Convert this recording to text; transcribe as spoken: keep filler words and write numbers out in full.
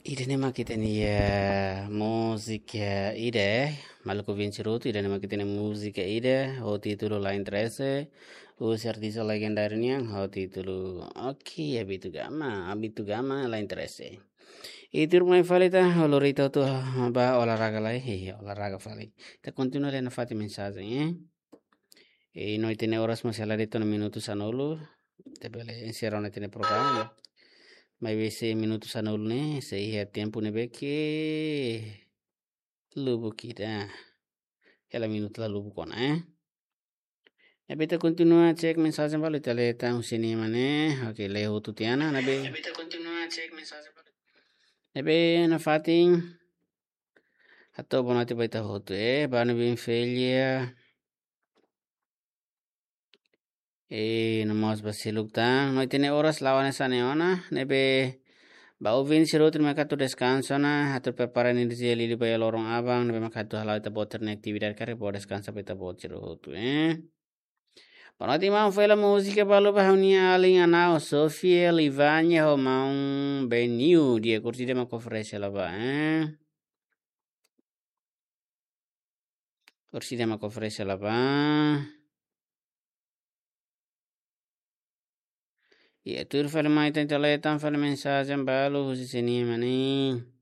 Ida-ne'e mak ita-nia múzika ida, maluk ouvinte sira hotu, ida-ne'e mak ita-nia múzika ida ho títulu La Interese, husi artista legendáriu nian ho títulu, oke, Abito Gama, Abito Gama, La Interese. I tuirmai fali ita, lori ita hotu ba olahraga lai, hehe, olahraga fali. Ita kontinua lee nafatin mensajen, eh. I no ita-nia oras mós sei la de'it ona minutu sanulu, ita bele enserra ona ita-nia programa. Maibé se minutu sanulu ne'e, sei iha tempu ne'ebé ke lubuk ida. Hela minutu la lubuk ona, eh. Ne'ebé ita kontinua cek mensajen balu, ita lee tan husi nia mane. Oke, lee hotu tiha ona, ne'ebé. Ne'ebé ita kontinua cek mensajen balu. Ne'ebé nafatin. Hato'o boa noite ba ita hotu, eh. Banu bin Felia. Eh, no mós ba seluk tan. No ita-nia oras la'o hanesan ne'e ona, ne'ebé ba ouvinte sira hotu ne'ebé mak atu deskansa ona, atu prepara enerjia liuliu ba iha loron aban, ne'ebé mak atu hala'o ita-boot sira-nia atividade karik bele deskansa ba ita-boot sira hotu, eh. Boa noite, maun, fó hela múzika balu ba ha'u-nia alin Anao, Sofia, Livania, ho maun Beniu, di'ak, orsida mak oferese hela ba, eh. Orsida mak oferese hela ba. I tuir fali mai ita lee tan fali mensajen balu husi sira-nia mane.